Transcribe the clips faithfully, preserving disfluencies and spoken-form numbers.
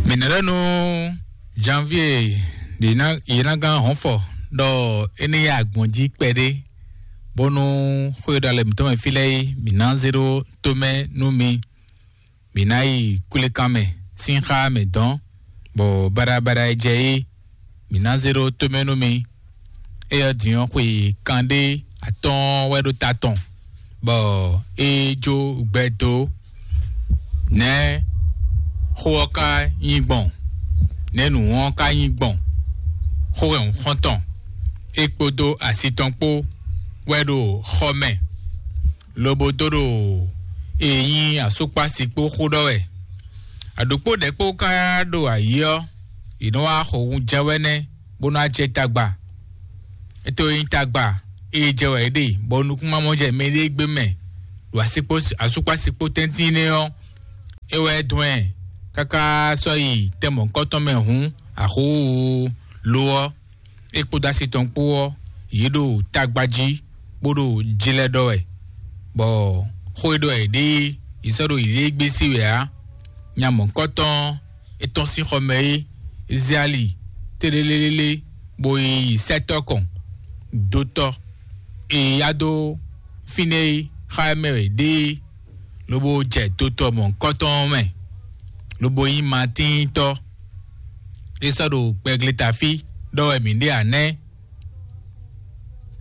Mǐ ná ɖɔ nú Janvier ɖě ná yě ná gán hɔn fɔ ɖɔ é ní yá agbɔ̌n jí kpɛɖé, bónú xwé ɖo alɛ mǐtɔn mɛ fí lɛ́ɛ é, mǐ ná zé ɖó tomɛ nú mi. Mǐ ná yi kwlékan mɛ sín xá mɛ dɔn, bɔ baɖabaɖa e jɛ é, mǐ ná zé ɖó tomɛ nú mi. Éyɛ́ din ɔ́, xwe kanɖé atɔ́ɔ́n wɛ ɖo ta tɔn, bɔ é jó gbɛ dó. Nɛ̌ xó ɔ́ ka nyí gbɔn? Nɛ̌ nǔ ɔ́ ka nyí gbɔn? Xó wɛ un xɔ́n tɔn, é kpódó asi tɔn kpó wɛ ɖo xɔ mɛ, lobo dó ɖo e nyí asúkpási kpó xó ɖɔ wɛ. Aɖǒkpó ɖɛ̌ kpó ka ɖo ayǐ ɔ́, yě nɔ wá xo wunjɛ wɛ nɛ́ bó ná jɛ tagba. Étɛ́ e nyí tagba e jɛ wɛ é ɖe, bɔ nukúnmamɔ jɛ mɛɖée gbé mɛ ɖo asúkpási kpó tɛ́ntin nɛ́ ɔ́, é wɛ dɔn ɛ káká sɔ́ yi tɛn mɔ̌hunkɔtɔn mɛ hǔn, axó lo ɔ́, é kpódó asi tɔn kpó ɔ́, yě ɖo tagba jí bó ɖo jlɛ́ ɖɔ wɛ, bɔ xó e ɖɔ yě ɖe é, yě sɔ́ ɖo yěɖée gbé sí wɛ ǎ. Nya mɔ̌hunkɔtɔn ɔ́, é tɔ́n sín xɔ mɛ é, é zé ali tlélélélé, bó yi sɛ́tɔ́ kɔn dó tɔ́ e yá dó fínɛ́ é xá mɛ wɛ ɖe é, lobo jɛ dotɔ mɔ̌hunkɔtɔn ɔ́ mɛ, lobo nyí Matíntɔ́. É sɔ́ ɖo gbɛgleta fí ɖɔ wɛ mǐ ɖe ǎ nɛ́.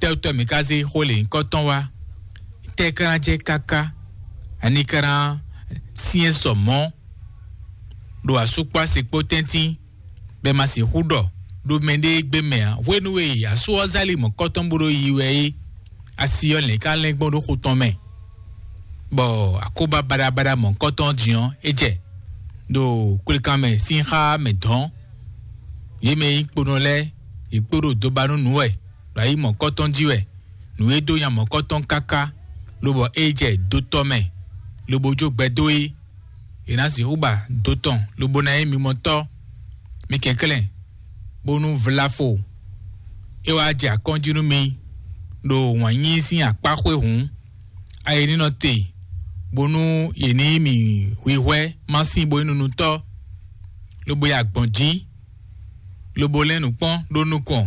Tɛ́wútɔ́ mǐ ka zé xó lě nyǐkɔ tɔn wá? Tɛ́ ka ná jɛ káká? Ani ka ná syɛ́n sɔ mɔ̌ ɖo asúkpási kpó tɛ́ntin, bɔ è ma sixú ɖɔ ɖo mɛɖée gbé mɛ ǎ. Hwenu e asú ɔ́ zá li mɔ̌kɔtɔn bó ɖo yi wɛ é, asi ɔ́ lɛ̌n ka lɛ́n gbɔn ɖó xo tɔn mɛ, bɔ akóbá baɖabaɖa mɔ̌kɔtɔn ɔ́ din ɔ́, é jɛ ɖo kwlékan mɛ sín xá mɛ dɔ̌n. Yě mɛ e nyí kponɔ lɛ́ɛ, yě kpo ɖo dobanúnǔ wɛ, ɖo ayi mɔ̌kɔtɔn jí wɛ. Nǔ e dó nya mɔ̌kɔtɔn káká, lobɔ é jɛ dotɔ mɛ, lobo jó gbɛ dó é. È nǎ sixú ba do tɔn lobo ná nyí mimɔtɔ́. Mi kɛnklɛ́n, bónú vlafo é wá jɛ akɔ́njí nú mi ɖo wǎn yíyí sín akpá xwé hǔn, ayi ní nɔ te, bónú yě ní yí mì hwihwɛ́ má sín bo nyí nunutɔ́, lobo yi agbɔ̌n jí, lobo lɛ́n nǔ kpɔ́n ɖó nukɔn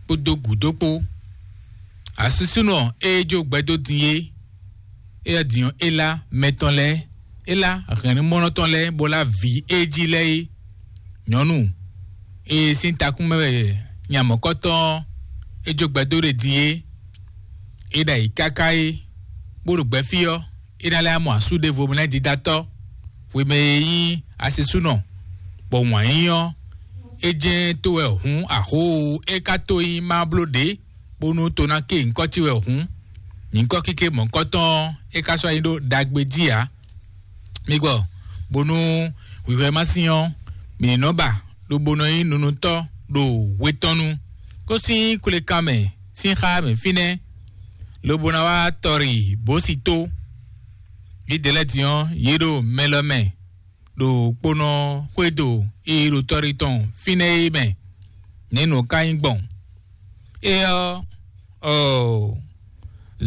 kpódó gǔdo kpó. Asúsúnɔ e jó gbɛdó din é, éyɛ́ din ɔ́, é lá mɛ tɔn lɛ́ɛ, é lá hɛ̌nnumɔ́nɔ tɔn lɛ́ɛ, bó lá vǐ e jí lɛ́ɛ é. Nyɔ̌nu e sín takún mɛ wɛ nya mɔ̌kɔtɔn ɔ́, é jó gbɛdó ɖe din é, é ɖo ayǐ káká é, bó ɖo gbɛfí ɔ́, é ná lɛ́ mɔ asú ɖěvo mɛ lɛ́ɛ dídatɔ́, hwemɛ e nyí asisúnɔ, bɔ wǎn yíyí ɔ́, é jɛ́n tó wɛ hǔn axóo é ka tó nyí má bló ɖě, bónú to ná ké nyǐkɔ ce wɛ hǔn, nyǐkɔ kéké mɔ̌kɔtɔn ɔ́, é ka sɔ́ nyí ɖó ɖagbe jí ǎ. Mi gbɔ, bónú hwǐhwɛ́ ma sín ɔ́, mǐ ní nɔ ba, lobo nɔ nyí nunutɔ́ ɖo hwe tɔn nu. Kó sín kwlékan mɛ sín xá mɛ fínɛ́, lobo ná wá tɔri bǒsi tó. Yědɛɛ lɛ́ɛ din ɔ́, yě ɖo mɛ lɔ mɛ, ɖo kponɔ xwédo e ɖo tɔri tɔn fínɛ́ é mɛ. Nɛ̌ nǔ ka nyí gbɔn? É ɔ́, ɔɔ,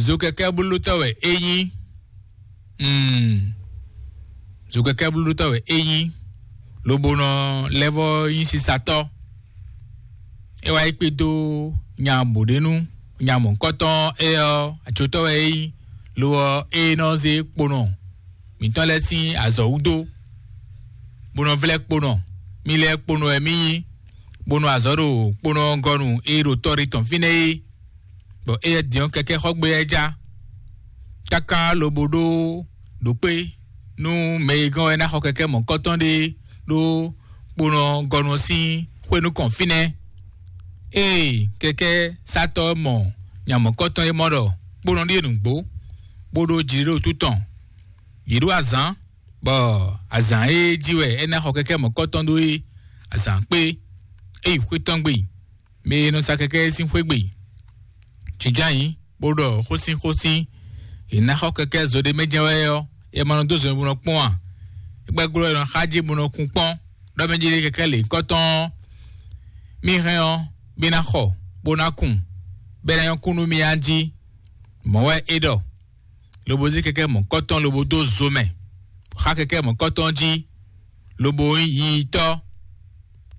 zokɛkɛ́blótɔ́ wɛ é nyí. Mm, zokɛkɛ́blótɔ́ wɛ é nyí, lobo nɔ lɛ́ vɔ́ nyí sisatɔ́. É wá yi kpé dó nya bǒɖénú, nya mɔ̌kɔtɔn é ɔ́, acotɔ́ wɛ é nyí, lo ɔ́, é nɔ zé kponɔ mǐtɔn lɛ́ɛ sín azɔ̌ wú dó, bó nɔ vlɛ́ kponɔ. Mí lɛ́ɛ kponɔ wɛ mí nyí, bó nɔ azɔ̌ ɖo kponɔ gɔ́nu e ɖo tɔ́ ɖé tɔn fínɛ́ é, bɔ éyɛ́ din ɔ́ kɛkɛ́ xɔ gbé lɛ́ɛ já, káká lobo ɖó ɖo kpé nú mɛ e gɔ́n wɛ ná xɔ kɛkɛ́ mɔ̌kɔtɔn ɖé ɖó kponɔ gɔ́nu sín xwé nukɔn fínɛ́. Ée kɛkɛ́ sátɔ́ mɔ nya mɔ̌kɔtɔn e mɔ ɖɔ kponɔ ɖíe nǔgbó, bó ɖó jǐɖéɖótú tɔn, yě ɖó azǎn, bɔ azǎn e jí wɛ é ná xɔ kɛkɛ́ mɔ̌kɔtɔn ɖó é, azǎn kpé, é yi xwé tɔn gbe, mɛ e nɔ sa kɛkɛ́ sín xwé gbe. Jǐnján nyǐ, bó ɖɔ xósínxósín, è nǎ xɔ kɛkɛ́ zo ɖé mɛ jɛ́n wɛ ɔ́, è ma nɔ dó zo bó nɔ kpɔ́n ǎ. É gbɛ́ glɔ́ è nɔ xá jí bó nɔ kún kpɔ́n, ɖɔ mɛ jí ɖé kɛkɛ́ lě kɔ́tɔn ɔ́, mì hɛn ɔ́, mì ná xɔ, bó ná kun, bɔ é ná nyɔ́ kún nú mì a jí. Mɔ̌ wɛ é ɖɔ, lobo zé kɛkɛ́ mɔ̌kɔtɔn lobo dó zo mɛ, xá kɛkɛ́ mɔ̌kɔtɔn jí, lobo nyí yiyitɔ́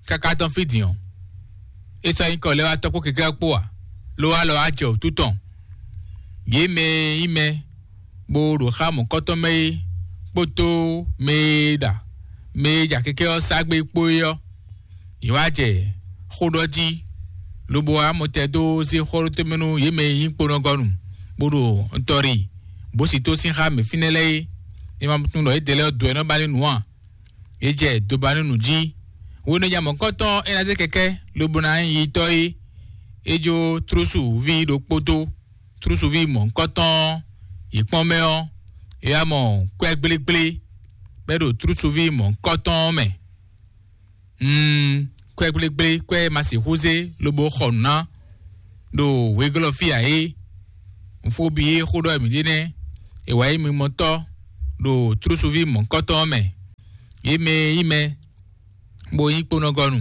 káká tɔn fí din ɔ́, é sɔ́ nyí kɔ lɛ́ wá tɔ́ kpó kɛkɛ́ kpó ǎ, ló wá lɔ wá jɛ wǔtu tɔn. Yě mɛ e nyí mɛ bó ɖo xá mɔ̌kɔtɔn mɛ é kpódó mɛ e ɖa mɛ e ja kɛkɛ́ ɔ́ sá gbé kpó é ɔ́, yě wá jɛ xó ɖɔ jí, lobo wá mɔtɛn dó zé xó ɖó tɛ́nmɛ nú yě mɛ e nyí kponɔgɔnu, bó ɖo ntɔ́ ɖi bó si tó sín xá mɛ fínɛ́ lɛ́ɛ é. È ma tunwun ɖɔ yědɛɛ lɛ́ɛ dó ɛ nɔ ba ní nǔ ǎ. Yě jɛ dobanúnu jí. Hwenu e nya mɔ̌kɔtɔn é ná zé kɛkɛ́ lobo ná nyí yitɔ́ é, é jó tlúsu ví ɖokpó dó. Tlúsu ví mɔ̌kɔtɔn yi kpɔ́n mɛ ɔ́, é wá mɔ kwɛ́ gblégblé bɔ é ɖo tlúsu ví mɔ̌kɔtɔn ɔ́ mɛ. Mm, kwɛ́ gblégblé, kwɛ́ e ma sixú zé lobo xɔ nǔ ná ɖo wěglɔ́ fí ǎ é. Nfóbi e xó ɖɔ mǐ ɖe nɛ́, è wǎ nyí mimɔtɔ́ ɖo tlúsu ví mɔ̌kɔtɔn ɔ́ mɛ. Yě mɛ e nyí mɛ bó nyí kponɔgɔnu,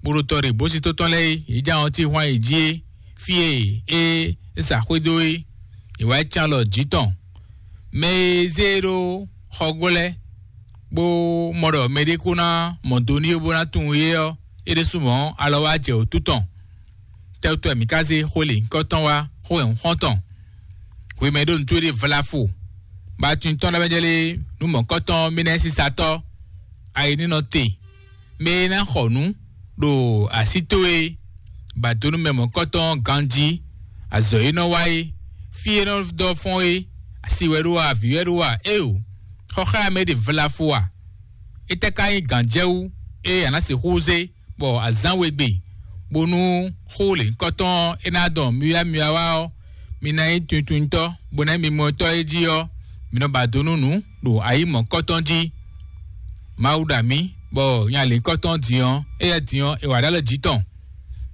bó ɖo tɔ ɖe bó sí tó tɔn lɛ́ɛ é, yě jɛ ahɔn tí hwan yě jí é, fí e é sa xwé dó é, è wǎ yi cán alɔ jǐ tɔn. Mɛ e zé e ɖó xɔgó lɛ́ɛ, bó mɔ ɖɔ mɛɖé kó ná mɔ do n'i bó ná tunwun é ɔ́, é ɖésú mɔ̌ alɔ wá jɛ wǔtu tɔn. Tɛ́wútɔ́ mǐ ka zé xó lěhunkɔtɔn wá xó wɛ xɔ́ntɔn? Hwemɛ ɖó nǔtú ɖé vlafo, bɔ atin tɔn lɛ́ɛ jɛ lé nú mɔ̌kɔtɔn mínɛ́ sísatɔ́, ayi ní nɔ te, mɛ e ná xɔ nǔ ɖo así towe, ba dó nú mɛ mɔ̌kɔtɔn ganjí, azɔ̌ e nɔ wa é, fí e nɔ dɔ fɔ́n é, asi wɛ ɖó a, avǐ wɛ ɖó a, éeǒ, xɔxámɛ ɖe vlafo a? Étɛ́ ka nyí gǎnjɛwú e a nǎ sixú zé bɔ azǎn we gbe, bónú xó lěhunkɔtɔn e ná dɔn myɔ́myɔ́ wá ɔ́, mi ná nyí tunwuntunwuntɔ́, bó ná nyí mimɔtɔ́ e jí ɔ́, mi nɔ ba do nú nǔ ɖo ayi mɔ̌kɔtɔn jí. Mawu ɖo amǐ, bɔ nya lěhunkɔtɔn din ɔ́, éyɛ́ din ɔ́, è wǎ ɖó alɔ jǐ tɔn,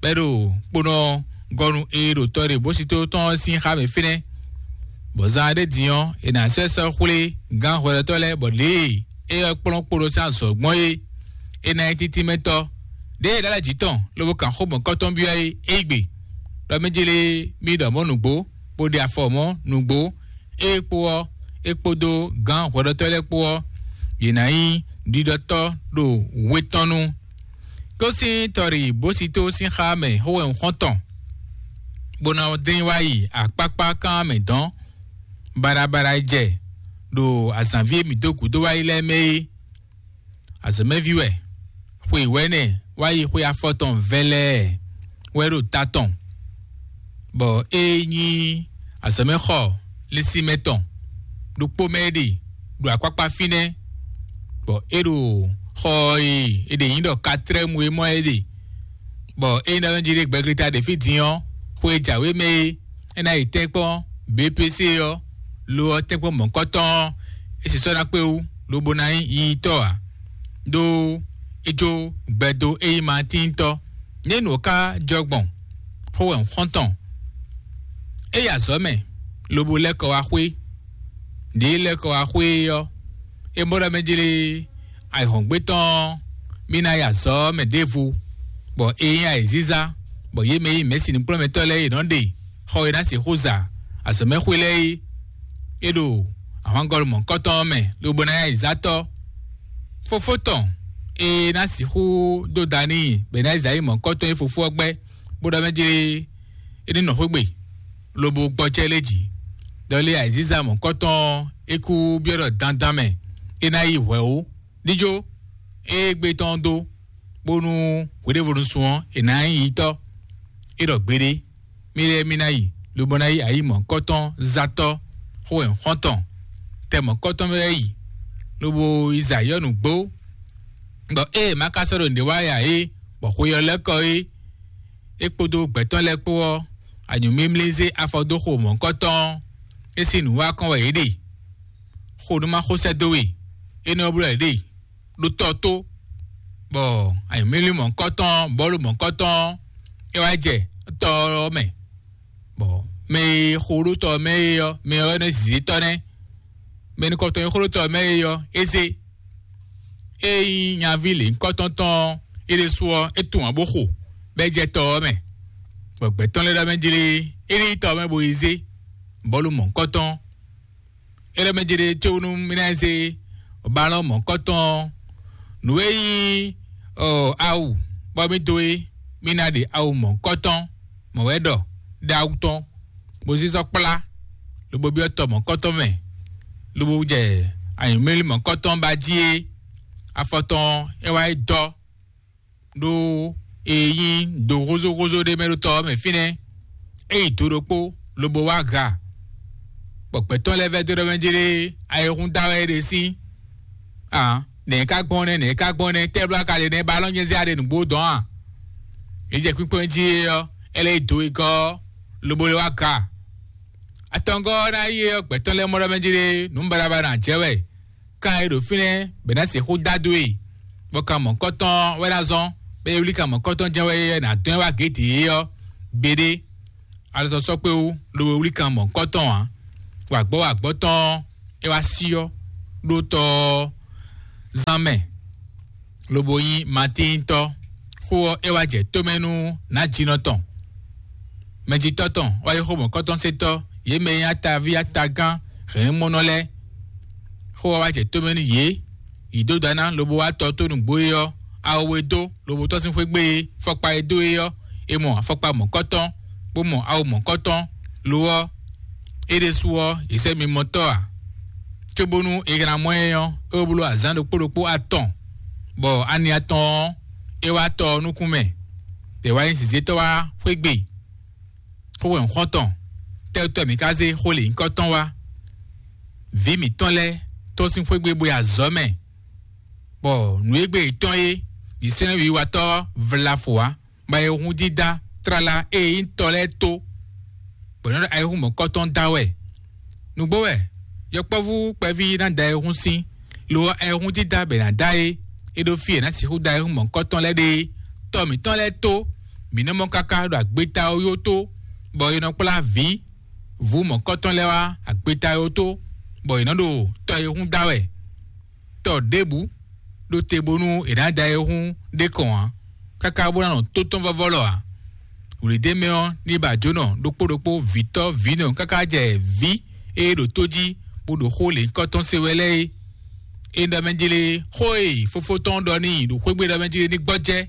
bɔ é ɖo kponɔ gɔnu e ɖo tɔ ɖe bó sito tɔn ɔ́ sín xá mɛ fínɛ́, bɔ zan ɖé din ɔ́, è nǎ sɔ́ ɛ sɔ́ xwlé gǎn hwɛɖɔtɔ́ lɛ́ɛ, bɔ lě e é ɔ́ kplɔ́n kpo ɖó sín azɔ̌ gbɔn é, é ná nyí títínmɛtɔ́. Ɖěe é ɖó alɔ jǐ tɔn lobo kan xó mɔ̌kɔtɔn byɔ́ é, é yí gbe, ɖɔ mɛ jélé mì ɖɔ mɔ̌ nǔgbó, bó ɖe afɔ mɔ̌ nǔgbó, é kpó ɔ́, é kpódó gǎn hwɛɖɔtɔ́ lɛ́ɛ kpó ɔ́, yě ná nyí ɖiɖɔtɔ́ ɖo we tɔn nu. Kó sín tɔɖi bó si tó sín xá mɛ xó wɛ un xɔ́n tɔn, bó ná dín wá yi akpákpá kán mɛ dɔ̌n, baɖabaɖa e jɛ ɖo azǎnví e mǐ dó gǔdo wá yi lɛ́ɛ mɛ é. Azɔ̌mɛví wɛ, xwe wɛ̌nɛ wá yi xwe afɔtɔn vɛlɛɛ wɛ ɖo ta tɔn, bɔ é nyí azɔ̌mɛxɔ lɛ́sínmɛ tɔn ɖokpó mɛ é ɖe ɖo akpákpá fínɛ́, bɔ é ɖo xɔ e è ɖe nyí ɖɔ katlɛ́mu é mɔ é ɖe, bɔ é nyí ɖɔ jí ɖé gbɛglita ɖě fí din ɔ́, xwe e jǎwe mɛ é, é ná yi tɛ́nkpɔ́n B P C ɔ́, lo ɔ́ tɛ́nkpɔ́n mɔ̌kɔtɔn ɔ́, é sisɔ ná kpé wú, lobo ná nyí yiyitɔ́ ǎ, ɖó é jó gbɛdó é nyí Matíntɔ́. Nyɛ̌nu ɔ́ ka jɔ gbɔn xó wɛ un xɔ́n tɔn. É yi azɔ̌ mɛ, lobo lɛ́ kɔ wá xwé. Ɖě é lɛ́ kɔ wá xwé é ɔ́, é mɔ ɖɔ mɛ jlé ayǐhɔ́ngbe tɔn ɔ́, mì ná yi azɔ̌ mɛ ɖěvo, bɔ é nyí ayǐzízá, bɔ yě mɛ e nyí mɛ̌si nǔkplɔ́nmɛtɔ́ lɛ́ɛ e nɔ ɖe xɔ e ná sixú za azɔ̌mɛxwé lɛ́ɛ é, é ɖo ahwangɔ́lú mɔ̌kɔtɔn ɔ́ mɛ, lobo ná nyí ayǐzátɔ́. Fofó tɔn e ná sixú dó da n'i bɔ è nǎ yi zǎ yi mɔ̌kɔtɔn e fofó ɔ́ gbɛ́, bó ɖɔ mɛ jlé é ní nɔ xwé gbe, lobo gbɔjɛ́ lé jǐ. Ɖɔ lé ayǐzíza mɔ̌kɔtɔn ɔ́, é kú byɔ́ ɖɔ dandan mɛ é ná yi hwɛ̌ ó. Díjó é gbé tɔn dó, bónú hweɖévonu sun ɔ́, è nǎ nyí yitɔ́. É ɖɔ gbeɖé, mì lɛ́ɛ mì ná yi, lobo ná yi ayǐ mɔ̌kɔtɔn zátɔ́ xó wɛ xɔ́ntɔn. Tɛ mɔ̌kɔtɔn mɛ wɛ yi, lobo yi zǎ yɔ́ nǔgbó, bɔ ée è ma ka sɔ́ ɖo nǔɖé wa ya é, bɔ xwe ɔ́ lɛ́ kɔ é, é kpódó gbɛ̌tɔ́ lɛ́ɛ kpó ɔ́, anyǔmimlí zé afɔ dó xo mɔ̌hunkɔtɔn ɔ́, é sín nǔ wa kɔn wɛ yě ɖe. Xo nú ma xo sɛ́ dó we, énɛ́ ɔ́ bló wɛ yě ɖe ɖó tɔ tó, bɔ anyǔmimlí mɔ̌hunkɔtɔn bɔ̌lu mɔ̌hunkɔtɔn ɔ́, é wá jɛ tɔ ɔ́ mɛ, bɔ mɛ e xo ɖó tɔ ɔ́ mɛ é ɔ́, mɛ ɔ́ wɛ nɔ zǐzítɔ́ nɛ́. Mɛ nukɔntɔn e xo ɖó tɔ ɔ́ mɛ é ɔ́, é zé. Ée nyí nyaví lěhunkɔtɔn tɔn ɔ́, é ɖésú ɔ́, é tunwun ǎ bó xo, bɔ é jɛ tɔ ɔ́ mɛ, bɔ gbɛ̌ tɔn lɛ́ɛ ɖɔ mɛ jlé é ní yi tɔ ɔ́ mɛ bó yi zé bɔ̌lu mɔ̌hunkɔtɔn. É ɖɔ mɛ jlé cóbónú mì ná yi zé balɔ́n mɔ̌hunkɔtɔn ɔ́ Nǔ e nyí ɔ awu bɔ mì dó é, mì ná ɖe awu mɔ̌hunkɔtɔn mɔ̌ wɛ ɖɔ ɖó awu tɔn, bó zízɔ kplá, lobo byɔ́ tɔ mɔ̌hunkɔtɔn mɛ, lobo jɛ anyǔmlílí mɔ̌hunkɔtɔn ba jí é. Afɔ tɔn é wá yi dɔ ɖó e nyí do húzóhúzó ɖé mɛ ɖó tɔ ɔ́ mɛ fínɛ́. É yi do ɖokpó lobo wá ga, bɔ gbɛ̌tɔ́ lɛ́ɛ vɛ́ dó ɖɔ mɛ jlé ayihún da wɛ é ɖe sín. Aa, nɛ̌ ka gbɔn nɛ́, nɛ̌ ka gbɔn nɛ́, tɛ́ bló ka ɖe nɛ́, ba alɔ́ nyɛ zé aɖe nǔgbó dɔn a? Yě jɛ kpínkpɔ́n jí é ɔ́, é lɛ́ yi do e gɔ́ ɔ́, lobo lɛ́ wá ga. Atɔngɔ́ ɔ́ ná yi é ɔ́, gbɛ̌tɔ́ lɛ́ɛ mɔ ɖɔ mɛ jlé nǔ baɖabaɖa jɛ wɛ. Kan e ɖo fínɛ́ bɛ ná sixú dá dó e, bɔ kan mɔ̌kɔtɔn wɛ ná zɔ́n, bɛ e wlí kan mɔ̌kɔtɔn jɛ́n wɛ é ná dɔn ɛ wá gědě é ɔ́ gbeɖé. Alɔsɔsɔkpéwu lobo wlí kan mɔ̌kɔtɔn ǎ. Wǎgbɔ́ wǎgbɔ́ tɔn ɔ́, é wá syɔ́ ɖó tɔ ɔ́ zán mɛ, lobo nyí Matíntɔ́. Xó ɔ́, é wá jɛ tómɛ nú nǎjínɔ tɔn. Mɛjitɔ́ tɔn wá yi xó mɔ̌kɔtɔn-sétɔ́, yě mɛ e nyí ataví atagán hɛ̌nmɔnɔ lɛ́ɛ. Xó ɔ́ wá jɛ tómɛ nú yě, yě dó dǎ ná lobo wá tɔ tó nǔgbó é ɔ́, awu e dó lobo tɔ́ sín xwé gbe é, fɔkpa e dó é ɔ́, è mɔ afɔkpa mɔ̌kɔtɔn, bó mɔ awu mɔ̌kɔtɔn. Lo ɔ́, é ɖésú ɔ́, è sɛ́ mimɔtɔ́ ǎ, cóbónú è ná mɔ ɛ ɔ́, é wó bló azǎn ɖokpó ɖokpó atɔn, bɔ ani atɔn ɔ́, é wá tɔ ɔ́ nukún mɛ, bɔ è wá nyí zǐzétɔ́ wá xwé gbe. Xó wɛ un xɔ́n tɔn, tɛ́wútɔ́ mǐ ka zé xó lě nyǐkɔ tɔn wá? Vǐ mǐtɔn lɛ́ɛ tɔ́n sín xwé gbe bó yi azɔ̌ mɛ, bɔ nǔ e gbe yětɔn é, yě sɛ́n wiwatɔ́ vlafo ǎ, bɔ ayihún dídá tlala e nyí tɔ lɛ́ɛ tó, bɔ è nɔ ɖo ayihún mɔ̌kɔtɔn da wɛ. Nǔgbó wɛ yɔkpɔ́vú kpɛví ná da ayihún sín, lo ɔ́, ayihún dídá bɛ è nǎ da é, é ɖó fí e è nǎ sixú da ayihún mɔ̌kɔtɔn lɛ́ɛ ɖe é. Tɔ mǐtɔn lɛ́ɛ tó, mǐ nɔ mɔ káká ɖo agbeta ɔ́ yó tó, bɔ è nɔ kplá vǐ vǔ mɔ̌kɔtɔn lɛ́ɛ wá agbeta ɔ́ tó, bɔ è nɔ ɖo tɔ e hun da wɛ. Tɔ ɖěbǔ ɖó te bónú è nǎ da e hun ɖé kɔn ǎ, káká bó ná nɔ tó tɔn vɔ́vɔ́ lɔ ǎ. Wǔlidémɛ ɔ́, ní ba jǒnɔ ɖokpó ɖokpó vǐtɔ́ vǐnɔ káká jɛ vǐ e ɖo tó jí bó ɖo xó lěhunkɔtɔn se wɛ lɛ́ɛ é. É ɖɔ mɛ jlé xó e fofó tɔn ɖɔ n'i ɖo xwé gbe ɖɔ mɛ jlé ní gbɔjɛ́,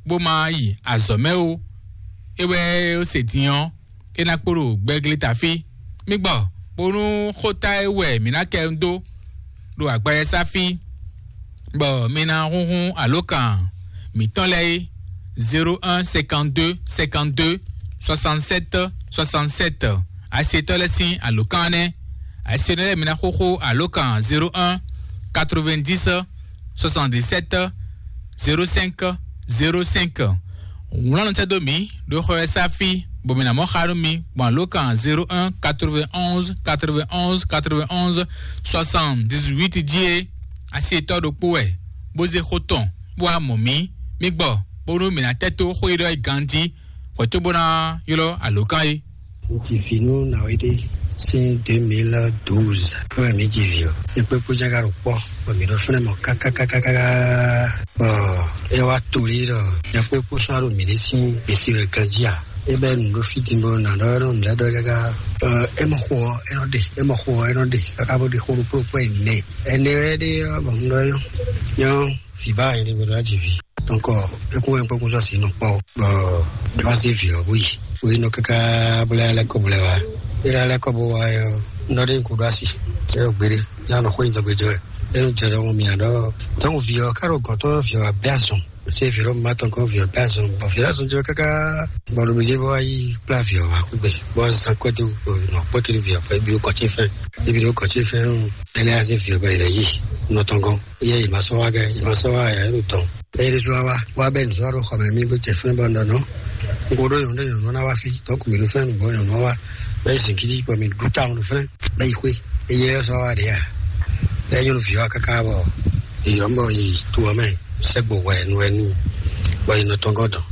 bó ma yi azɔ̌ mɛ ó. É wɛ é se din ɔ́, é ná kpo ɖo gbɛglé ta fí. Mí gbɔ bónú xóta e wɛ mǐ ná kɛ dó ɖo agbawɛsá fí, bɔ mi ná húnhún alǒkan mǐtɔn lɛ́ɛ é: zéro un cinquante-deux cinquante-deux soixante-sept soixante-sept. Asetɔ́ lɛ́ɛ sín alǒkan nɛ́. Asetɔ́ lɛ́ɛ mi ná xóxó alǒkan zéro un quatre-vingt-dix soixante-dix-sept zéro cinq zéro cinq. Wlán nɔ tɛ́ dó mǐ ɖo xɔ e sá fí, bɔ mǐ ná mɔ xa nú mi gbɔn alǒkan zéro un quatre-vingt-onze quatre-vingt-onze quatre-vingt-onze soixante-dix-huit jí é. Asi yětɔn ɖokpó wɛ, bó zé xó tɔn, bó wá mɔ mǐ. Mí gbɔ, bónú mǐ ná tɛ́ tó xó e ɖɔ é ganjí, hwɛ̌ cóbó ná ylɔ́ alǒkan é. Ŋutsi vi nú Nawéɖé sín deux mille douze wɛ mǐ ji vǐ ɔ́. Mǐ kpé kpó jága ɖo kpɔ́, bɔ mǐ ɖo fínɛ́ mɔ kákákákáká. Bɔ é wá to lí ɖɔ nyɛ kpé kpó sɔ́ ɖo mǐ ɖé sín gbèsè wɛ ganjí a? É bɛ́ nǔ ɖó fí din bó ná ɖɔ nɔ nǔ lɛ́ɛ ɖɔ káká. Ɔ, é mɔ xo ɔ́, é nɔ ɖe, é mɔ xo ɔ́, é nɔ ɖe, káká bó ɖe xó ɖokpó ɖokpó ɛnɛ. Ɛnɛ wɛ ɖe ɔ́, bɔ un ɖɔ nyɔ́, nyɔ́, vǐ ba nyɛ ɖé gbe ɖo aji vi. Donc, é kún wɛ un kpé kún sɔ́ si nɔ kpɔ́. Bɔ é wá zé vǐ ɔ́ bó yi. Bó yi nɔ káká bó lɛ́ lɛ́ kɔ bó lɛ́ wá. É lɛ́ lɛ́ kɔ bó wá ɔ́, un ɖɔ ɖé un kú ɖó asi. É ɖo gbeɖé, yá nɔ xó nyi dɔgbe jɔ wɛ. É nɔ jɛ ɖɔ mɔ mǐa ɖɔ, donc vǐ ɔ́ ká ɖo gɔ̌n tɔn, vǐ ɔ́ wá bɛ́ azɔn. Sé vǐ ɖo má tɔn kɔn vǐ ɔ́ pɛ azɔn, bɔ vǐ ɖo azɔn jɛ káká, bɔ ɖo mǐ jɛ bɔ wá yi kplá vǐ ɔ́ wá kú gbe. Bɔ zan kɔ́ dó nɔ kpɔ́ kiri vǐ ɔ́ kɔ ebi ɖo kɔ́ ce fɛn, ebi ɖo kɔ́ ce fɛn o. Ɛnɛ azé vǐ ɔ́ bɛ yi lɛ yi nɔ tɔn gɔn. Yɛ yi ma sɔ wá gɛ, yi ma sɔ wá ya ɖo tɔn. Bɛ yi ɖo wá wá bɛ nǔ sɔ ɖo xɔ mɛ mí gbé cɛ fɛn bɔ nɔ nɔ. N ko ɖo yɔn ɖo yɔn nɔ na wá fi, tɔn ko mi ɖo fɛn nǔ bɔ yɔn nɔ wá. Bɛ yi zin kiti bɔ mi ɖu ta ɖo fɛn, bɛ yi xwé. Eyɛ sɔ wá ɖe ya. Bɛ nyɔnu vǐ wá káká bɔ yi lɔ bɔ yi to ɔ́ mɛ. Sɛgbo hwɛ nu wɛ n'i, bɔ yi nɔ tɔn gɔ́ dɔn,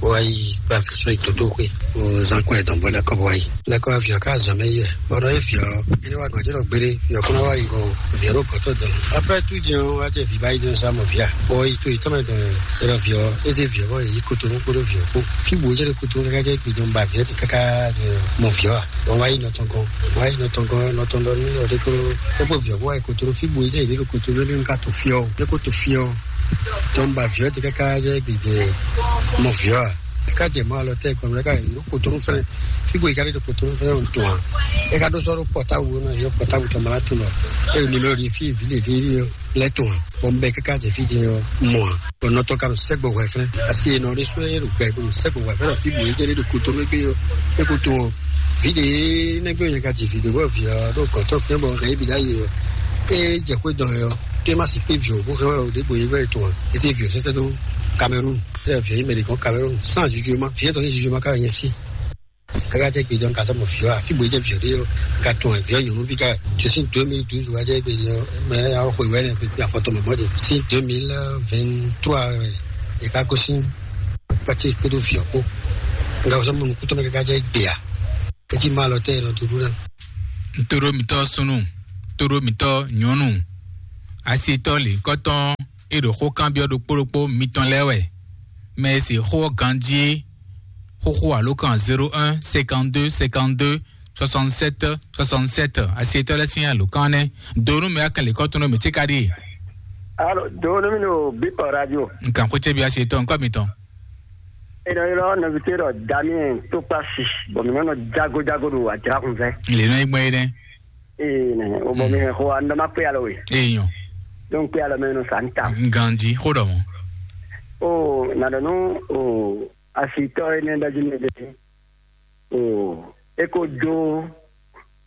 bó wá yi kplá fɛsɔ yi tótó xwé, bó zán kɔn ɛ dɔn bó lɛ́ kɔ bó wá yi. Lɛ́ kɔ vǐ ɔ́ ká zɔn mɛ yi wɛ, bɔ ɖɔ é vǐ ɔ́, é ní wá gɔ̌n jɛ ɖɔ gbeɖé, vǐ ɔ́ kó ná wá yi gɔ́n, vǐ ɔ́ ɖo gɔ̌ tɔn dɔn. Après tout jɛn ɔ́, wá jɛ vǐ ba yi dɔn sá mɔ vǐ a? Bɔ yi to yi tɔn mɛ dɔn, é ɖɔ vǐ ɔ́, é zé vǐ ɔ́ bɔ yi kotonu kpódó vǐ ɔ́ kpó. Fí bǔ é jɛ ɖo kotonu káká jɛ gbe dɔn ba vǐ ɔ́ ti káká mɔ vǐ ɔ́ a? Bɔ wá yi nɔ tɔn gɔ́n, wá yi nɔ tɔn gɔ́n, nɔ tɔn ɖɔ nú ɔ ɖé kó, é kpó vǐ ɔ́ kó wá yi kotonu, fí bǔ é jɛ yi ɖo kotonu ní ká to fí ɔ́, é kó to fí ɔ́. Tɔn ba vǐ ɔ́ te káká jɛ gbigbe mɔ vǐ ɔ́ a? É ká jɛ mɔ alɔ tɛ kɔn, é ká yi ɖo kotonu fɛnɛ. Fíbo yi ká ɖe ɖo kotonu fɛnɛ ɔn tɔn a? É ká ɖó sɔ́ ɖó pɔtábu ɔ́ ná, yɔ pɔtábu tɔn mɔ ná tun lɔ. É ɖo nimero ɖi fí vǐ ɖě ɖi lɛ́ tɔn a? Bɔ un bɛ káká jɛ fí din ɔ́ mɔ a? Bɔ nɔ tɔn ka ɖo sɛ́gbɔ hwɛ fɛnɛ. Asi e nɔ ɖé sɔ́ é ɖo gbɛ ɖo sɛ́gbɔ hwɛ fɛnɛ, fíbo yi jɛ ɖe ɖo kotonu égbé ɔ́, é ko tɔn ɔ́. Vǐ ɖě nɛgbɛ nyɛ ka ji vǐ ɖě bɔ vǐ ɔ́ ɖo gɔ̌tɔ́ fɛ́n bɔ hɛn yě bǐ ɖ'ayǐ ɔ́, é jɛ xwé dɔn ɛ ɔ́, tó é má sixú vǐ ɔ́ bó hɛn wɛ ɔ ɖěbǔ é vɛ tɔn ǎ. É zé vǐ ɔ́ sɛ́sɛ́ dó Cameroun. Sɛ́ vǐ ɔ́ nyí mɛ ɖě gɔ́n Cameroun. Sans jujuma, vǐ ɔ́ tɔn nyí jujuma ká wɛ nyɛ sí. Káká jɛ gbe dɔn ka sɔ́ mɔ vǐ ɔ́ ǎ. Fí bó é jɛ vǐ ɔ́ ɖe ɔ́, un ka tunwun vǐ ɔ́ nyɔ̌nuví ká wɛ. Tó sín deux mille douze wá jɛ gbe dɔn mɛ ɔ́ xwe wɛ nɛ kpekpe afɔtɔn mɛ mɔ̌ din. Sín deux mille vingt-trois wɛ è ká gosín pati kpódó vǐ ɔ́ kpó. Un ka sɔ́ mɔ nukúntɔ́ mɛ káká jɛ gbe ǎ. Etí ma lɔ tɛ nɔ dúdú ná. Ntoro mitɔ sunu, ntoro mitɔ nyɔnu, asitɔ lǐnkɔtɔn e ɖo xó kanbyɔ ɖokpó ɖokpó mitɔn lɛ́ɛ wɛ. Mɛ e se xó ɔ́ ganjí xóxó alo kan zéro un cinquante-deux cinquante-deux soixante-sept soixante-sept. Asitɔ lɛ́ɛ sín alǒkan nɛ́. Donu mɛ akɛn lǐnkɔtɔn nɔ mǐ tí ka ɖi. Alo, donu mi no Bipɔ Radio. Nkan xwé cɛbi asitɔ nkɔ mitɔn. Eno ylɔ nɔvite ɖɔ Damien Tokpasi, bɔ mi nɔ jago jago ɖo ajra kun fɛ. Le nɔ egbe ne. Ee ne o bɔ mi hɛn xo an dɔ ma kpe alɔ we. Eyan. Donc kpe alɔ mɛ no sa n ta. Nganji xo dɔ mo. O na dɔ nu o asitɔ ene dɔ ji ne de. O e ko do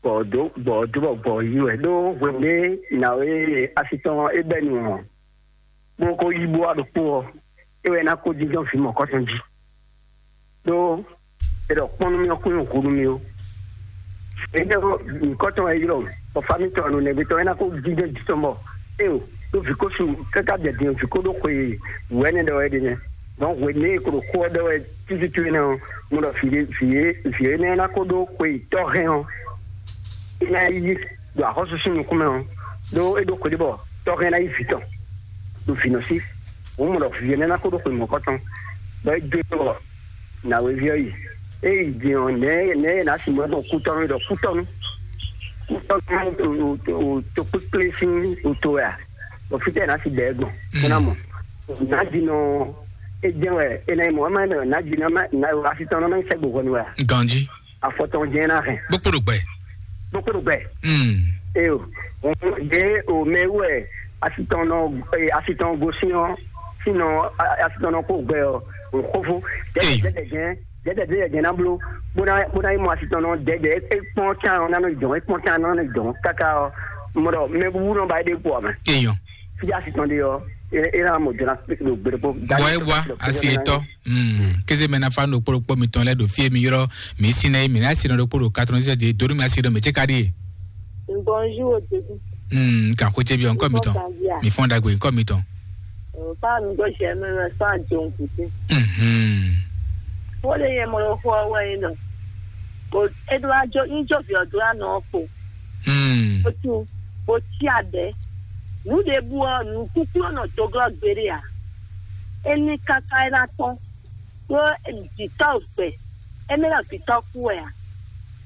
gbɔ do gbɔ do bɔ gbɔ yi wɛ do hwende na we asitɔ e bɛ nu. Bó kó yí bó wá ɖokpó ɔ́, é wɛ ná kó jínjɔ́n vǐ mɔ̌kɔtɔn jí. Ɖó è ɖɔ kpɔ́n nú mì ɔ́ kún nyí hǔ nú mì ó. Énɛ́ ɔ́, nyǐkɔ tɔn wɛ é ylɔ́, bɔ fámí tɔn ɔ́ nɔ nɛgbé tɔn é ná kó jínjɔ́n jí tɔn bɔ éeǒ, ɖó vǐ ko su káká jɛ din vǐ ko ɖó xwe wǔ ɛnɛ ɖɔ wɛ é ɖe nɛ́. Dɔn hwenu e è ko ɖo xó ɔ́ ɖɔ wɛ tútútú énɛ́ ɔ́, mo ɖɔ vǐ ɖé vǐ é vǐ énɛ́ ná kó ɖó xwe tɔ́ hɛn ɔ́, é ná yí ɖo axɔ́súsú nukún mɛ ɔ́, ɖó é ɖó xwe ɖé bɔ tɔ́ hɛn ná yí vǐ tɔn ɖo vǐ nɔ sí. Hǔn mɔ ɖɔ vǐ énɛ́ ná kó ɖó xwe mɔ̌kɔtɔn, bɔ é dó bɔ nǎwéví ɔ́ yi. É yi din ɔ́, nɛ̌ nɛ̌ é ná si mɔ gbɔn kútɔ́nú ɖɔ kútɔ́nú kútɔ́nú tokpékplé sín oto wɛ a? Bɔ fítɛ́ ná si bɛ̌ gbɔn bó ná mɔ. Nǎjínɔ é jɛ́n wɛ é ná nyí mɔ̌, é má nyí mɛ nǎjínɔ asi tɔn ná má nyí sɛ́gbo hwɛnu wɛ a? Ganjí. Afɔ tɔn jɛ́n ná hɛn. Bó kpo ɖo gbɛ. Bó kpo ɖo gbɛ. Mm. Eyo. Ɖe o mɛ wɛ asi tɔn nɔ asi tɔn gosín ɔ́, sinɔ asi tɔn nɔ kó gbɛ ɔ́, o xófó. Eyo. Jɛjɛ jɛjɛ jɛn jɛjɛ jɛjɛ jɛn ná bló bó ná bó ná nyí mɔ asi tɔn nɔ dɛdɛ é kpɔn tán ɔ́ ná nɔ dɔn é kpɔn tán ná nɔ dɔn káká ɔ́, mɔ ɖɔ mɛ wúwú nɔ ba é ɖe kpɔ mɛ. Eyo. Fíjá asi tɔn ɖe ɔ́, é é ná mɔ jɔna ɖo gbeɖokpó. Bɔ é wá asi etɔ. Mm. Kéze mɛ na fa no kpóɖokpó mitɔn lɛ ɖo fie mi ylɔ mi si nɛ mi na si nɔ ɖokpó ɖo katɔn sɛ de donu mi asi ɖo mi tse ka ɖi. Bonjour, Ododou. Mm. Kan xo tse bi ɔnkɔ mitɔn. Mi fɔn dagbe ɔnkɔ mitɔn. Fa mi gbɔ sɛ mi mɛ fa jɔn kuti. Mhm. Wo le yɛ mɔ lo xɔ wɛ yin nɔ. Ko edo ajo yin jo vi odo anɔ ko. Mm. Ko tu ko ti adɛ. Nu de bu ɔ nu kuku nɔ to glɔ gbere a. Eni kaka ena tɔn. Ɖó vǐtɔ́ gbɛ, émí ná vǐtɔ́ kú wɛ a?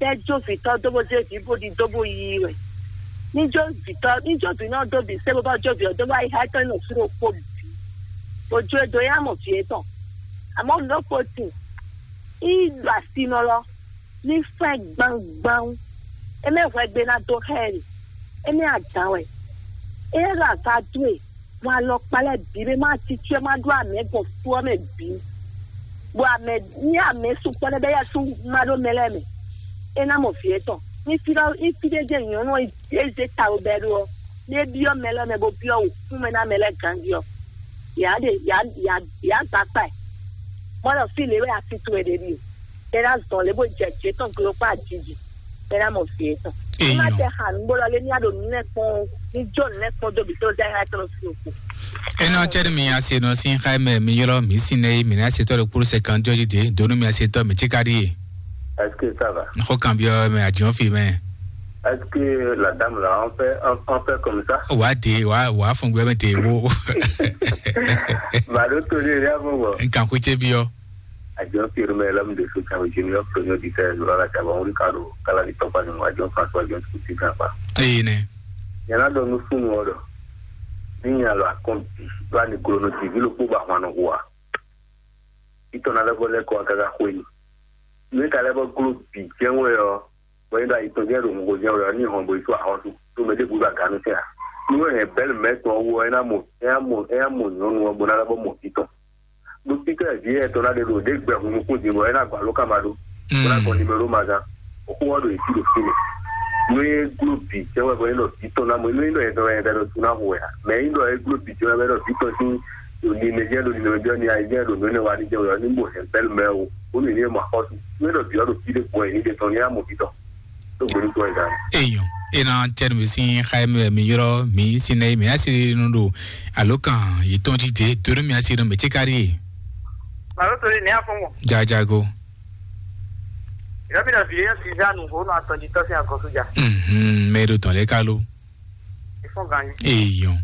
Tɛ́ jó vǐtɔ́ dó bó zé vǐ bó ɖi dó bó yí wɛ. Ní jó vǐtɔ́, ní jó vǐ nɔ dó bǐ sé bó bá jó vǐ ɔ́ dó bá yi xá tɔ́ nɔ sú ɖokpó bǐ. Bó jó e dó yá mɔ vǐ étɔn. Amɔ̌ nǔ ɖokpó tin, í ɖo asinɔ lɔ, ní fɛ́n gbangban. Émí hwɛgbe ná dó xá ɛ ɖe, émí adǎn wɛ. É ɖo aga dó e, bɔ alɔkpa lɛ́ɛ bǐ ɖé má títí ɔ́ má ɖó amɛ gbɔn fú ɔ́ mɛ bǐ. Bɔ amɛ ní amɛ sukpɔ́ lɛ́ɛ bɛ́ yɛ́sú má ɖó mɛ lɛ́ɛ mɛ. É ná mɔ vǐ étɔn. Ní fí ɖɔ ní fí ɖé jɛ nyɔ̌nu ɔ́ é zé ta ɖo bɛ́ ɖó ɔ́, ní é byɔ́ mɛ lɛ́ɛ mɛ bó byɔ́ wǔkúnmɛ ná mɛ lɛ́ɛ ganjí ɔ́, yǎ ɖe yǎ yǎ yǎ gba kpa ɛ. Mɔ ɖɔ fí lě wɛ asi towe ɖe ɖíe. Bɛ́ ná zɔn lě bó jɛ jě tɔn glo kpó ajiji. Bɛ́ ná mɔ vǐ étɔn. Ní má tɛ xa nǔgbó lɔ lé ní á ɖo nǔ lɛ́ɛ kpɔ́n ó. Ní jó nǔ lɛ́ɛ kpɔ́n dó bǐ tó zɛ xá tɔn sín òkú. Enɔ cɛ ni mi ase nɔ sin xa mɛ mi ylɔ mi sin nɛ mi na se tɔ ɖo kpuru sɛ kan jɔji de donu mi ase tɔ mi tsika ɖi ye. Est-ce que ça va? Xɔ kan biɔ mɛ adiɔ fi mɛ. Est-ce que la dame là on fait on, on fait comme ça? Wa de wa wa fun gbɛ mɛ de wo. Ba ɖo to ɖe ya bɔ bɔ. Nkan xwé tse biɔ. Adiɔ fi mɛ lɔm de so kan junior premier ditail zora la caba wuli ka ɖo kala di tɔkpa ni mo adiɔ François adiɔ tukuti kan pa. Eyi nɛ. Yana dɔ nu funu ɔ dɔ. Ní alɔ akɔn bǐ ɖó aniglo nɔ jí vǐ ɖokpó bɔ ahwan nɔ hu ǎ. Títɔ́ ná lɛ́ vɔ lɛ́ kɔ wá káká xwé ni. Nú é ka lɛ́ vɔ gló bǐ jɛ́n wɛ ɔ́, bɔ é ɖo ayi tɔn jɛ́n ɖo hungo jɛ́n wɛ ɔ́, ní hɔn bo yi sú axɔ́sú, ɖó mɛ ɖěbǔ ɖo agǎnu tɛn ǎ. Nú é hɛn bɛ́lɛ mɛ̌ tɔn ɔ́ wú ɔ́, é ná mɔ é ná mɔ é ná mɔ nyɔ̌nu ɔ́ bó ná lɛ́ vɔ mɔ vǐ tɔn. Ɖó títɔ́ vǐ éyɛ́ tɔn ná ɖe ɖo ɖě gbɛ hun nukún din bɔ é ná gɔ́ alǒkan ma ɖó. Bó ná gɔn nimero ma gán. Xó ɔ́ ɖo yě jí ɖo fínɛ́. Nú é gló bǐ jɛ́n wɛ bɔ é ɖɔ vǐ tɔn ná mɔ, nú é ɖɔ yɛ tɔn wɛ yɛ ɖo sú ná hu wɛ ǎ. Mɛ é ɖɔ é gló bǐ jɛ́n wɛ bɔ é ɖɔ vǐ tɔn sín ɖo nimɛ jɛ́n ɖo nimɛ jɛ́n ni ayé jɛ́n ɖo nǔ énɛ́ wa ní jɛ́n wɛ ɔ́, ní mɔ hɛn bɛ́lɛ mɛ ó. Bónú yě ní mɔ axɔ́sú. Nú é ɖɔ vǐ ɔ́ ɖo fí ɖé gbɔn yě ní ɖe tɔn ní á mɔ vǐ tɔn. Tó gbóni tó ɛ gán. Eyɔn, ena tɛnu mi sin xayɛ mi mi yɔrɔ mi sin nɛ mi asi nu ɖo alo kan yi tɔn ti de doro mi asi nu mi ti kari. Màlúù tó lé ní afɔ́nwɔn. Jajago. Ìrọ́bìnrin ọ̀bì yẹn sì dánù òun àtọ̀jì tọ́sí àkọ́sójà. Mhm, mẹ́rin tán lẹ́ka ló. Ìfọ̀n gan ni. Eyɔn.